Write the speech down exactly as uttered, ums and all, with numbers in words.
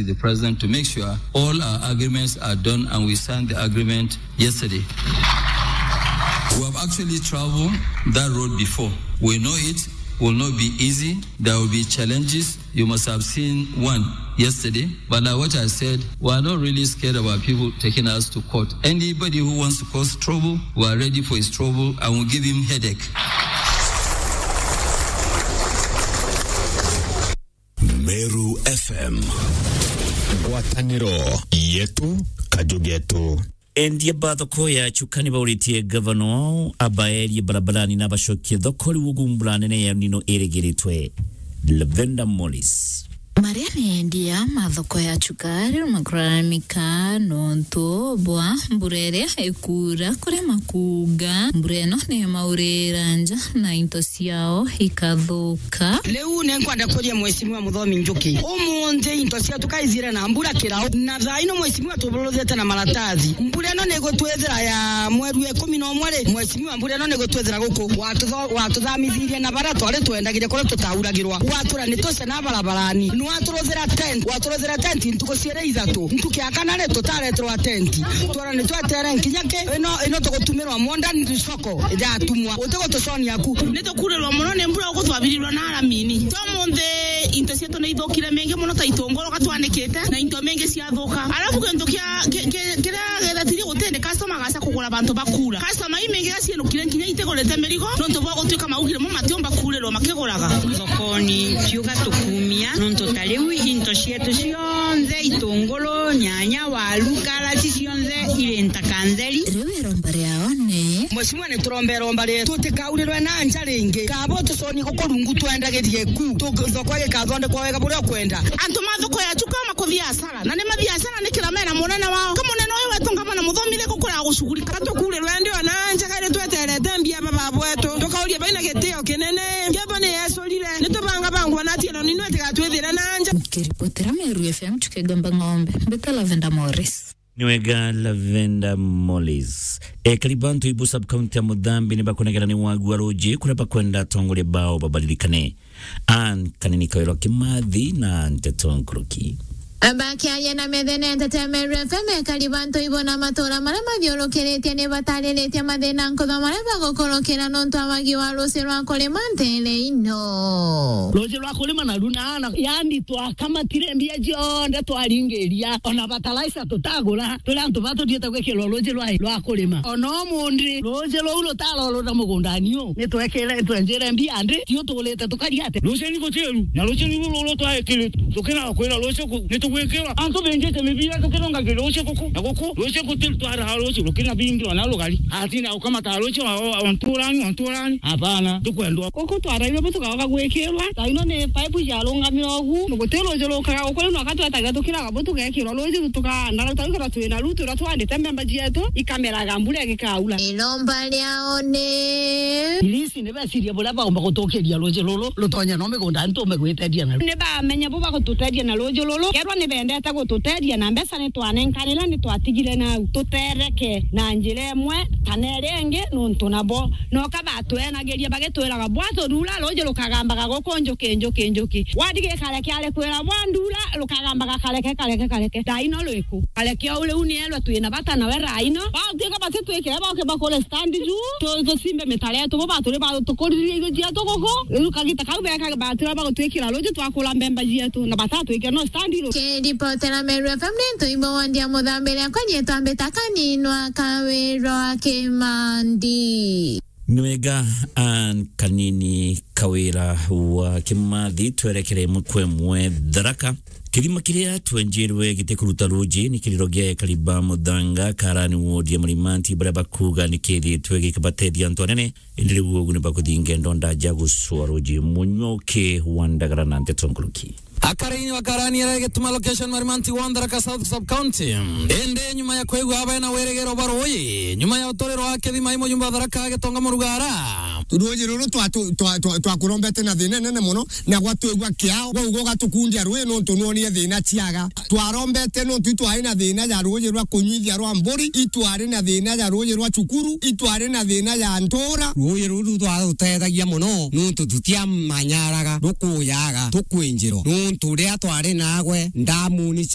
the president to make sure all our agreements are done, and we signed the agreement yesterday. We have actually traveled that road before. We know it will not be easy. There will be challenges. You must have seen one yesterday. But like what I said, we are not really scared about people taking us to court. Anybody who wants to cause trouble, we are ready for his trouble and will give him headache. Meru F M. Ngwataniro yetu, kaju getu. Endia ba thoko ya Chuka ni bauritie gavana wao abaerie barabarani na bacokie thoko riu gumbura nene ya El Nino irigiritwe. Lavenda Morris. Maria ni endia ma thoko ya Chuka riu makuraramika nontu bwa mbura iria ikuura kuria makuuga mbura ino ni maurira nja na into ciao ikathuka. Riu ni nkwenda kuria Mheshimiwa Muthomi Njuki, umunthi into cietu kaithire na mbura kirau, na thaa ino Mheshimiwa tuburuthite na maratathi. Mbura ino ni igutwithira ya mweri wa ikumi na umwe ri, Mheshimiwa, mbura ino ni igutwithira guku. Watutho-, watuthamithirie na baria twari twendagiria kuria tutauragirwa. Watwira ni tuce na barabarani. Ni waturuthira tent, waturuthira tent ntuku ciiri ithatu. Ntuku ya kana ri tutareterwa tent. Twara ni twetere nkinya ki ino, ino tugutumirwa modern soko yatumwa. Uti gutuconia ku. Ni tukurirwa muno ni mbura uku twabirirwa na aramini. Twa munthi into cietu ni ithukire mingi muno ta itunguru gatwanikite na into mingi ciathuka. Alafu kintu kia, ki-, ki-, kiria gethatiri gutindi customer agaca kugura bantu bakuura. Customer imingi gacienukire nkinya itigurite mirigo nontu bwa gutuika maugire mo matiumba kuurirwa makiguraga. Thokoni ciuga tukumia nontu ta riu into cietu cionthe, itunguru, nyanya, waru, karati cionthe iri ntaka ntheri. Riu iromba riao ni Mheshimiwa, ni turomba iromba rietu tutikaurirwe na nja ringi. Kaba utuconie guku rungu twendagirie ku. Tu-, thoko igikathondekwa wega buria ukwenda. Antu ma thoko ya Chuka makuthia hasara. Na ni mathia hasara ni kira mena munene wao. Ka munene uyu wetu ngavana Muthomi ni gukura gucugurika. Ka tukurirwe ndi ona nja kairi tweterete mbia baba bwetu. Tukauria baina gitio kinene. Ngebo ni yecurire. Ni tubanga bangwa na tieno ninu itigatwithire na nja. Nikiripotera Meru F M, Chuka Igomba Ng'ombe. Mbita Lavenda Morris. Ni wega, Lavenda Morris. Ekari ba Ntuibu sub-county ya Muthambi ni bakunegera ni wagu wa ruuji kuria bakwenda atongoria bao babaririkane. Ann Kanini, Kawira wa Kimathi na Nteto Nkuruki. Bakiaria na Methene Entertainment F M, ekari ba Ntuibu na matura maria mathiurukiritie ni batariritie mathina nkutho maria bagukurukira nontu wa wagi wa ruuji rwa kurima ntere ino. Ruuji rwa kurima na runa na, yani, twakamatire mbia cionthe twaringiria, ona fertilizer tutagura, turi antu ba tuthiite gwikirwa ruuji rwa, rwa kurima. Ona umunthi, ruuji ruu rutarorura mugundani uu, ni twekire, twenjire mbia ndi, tiu tuurite tukaria ate? Ruuji ni gutiru, na ruuji ni ruru twaikirite. Tukina kwira ruuji ku, ni tugwikirwa. Antu benjite mibira tukirongagira ruuji guku, na guku, ruuji gutiru twaraha ruuji rukina bingi ona rugari. Atina ukamata ruuji wa, wa, wa nturani, wa nturani. Hapana, tukwendwa. Guku twarairwe bu tukaoga gwikirwa. Thaa ino ni paipu ciarungamire ugu. Guti ruuji rukaga guku, riu no ka twetagira tukiraga bu tugekirwa ruuji tu tukaanda. Rau tau kira twina rutu ruria twandite mbemba cietu, ikameraga mbura igikaura. Iromba riao ni Irisi ni becirie buria baumba gutukiria ruuji ruru rutonye no migunda ntume gwiteria naru. Ni bamenya bu bagututeria na ruuji ruru. Kerwa ni bendete gututeria na mbeca ni twanenkanire, ni twatigire nau. Tutereke na njira imwe kana iria ingi nuntu nabo. No ka batwenagiria bagitwiraga, "Bwaturura, ruuji rukagambaga guku njuki, njuki, njuki." Wadi gikare kiari kwira, "Bwandura, rukagambaga kareke, kareke, kareke." Thaa ino rwiku? Kareke o riu ni erwa twina bata nawe thaa ino. Batuika bati twikire, boke bakure stand juu, tu-, tucimbe mitare yetu, bo baturi batukuririe irio cietu guku. Riu kagita kau beka batira bagutwikira ruuji twakura mbemba cietu, na batatwikira no stand ru. Kiripotera Meru F M ni Ntuibo wa Ndia Muthambiria kwa nyetwa Mbita Kaninwa Kawirwa Kimandi. Ni wega, Ann Kanini, Kawira wa Kimathi, twerekere imwe kwa imwe Tharaka. Kirima kiria twenjirwe gitikuruta ruuji ni kiriro gia ekari ba Muthanga, Karani ward ya Marimanti, baria bakuuga ni kiithiritwe gikabatethia antu anene, indi riu ugu ni bakuthi ngendo ndaja gucua ruuji. Munyuki wa Ndagara na Nteto Nkuruki. Akaraini wa Karani aria gituma location Marimanti wa Tharaka South Sub County. Indi nyuma ya kwigua abae na wirigiro bwa ruuji, nyuma ya uturiro wa kithima i mujumbe wa Tharaka Gitonga Murugara, Ruuji ruru twa-, twa-, twa-, twa-, twakurombete na thina nene mono, na gwatwigua kiao, gwauga ugatukundia ruuji nontu nwonire thina ciaga. Twarombete nontu itwari na thina ja ruuji rwa kunyuithia rwa mburi, itwari na thina ja ruuji rwa cukuru, itwari na thina ja ntuura. Ruuji ruru rwatutethagia mono nontu tutiamanyaraga, rukuyaga, tukwinjirwa. Nontu riria twari nagwe ndamuni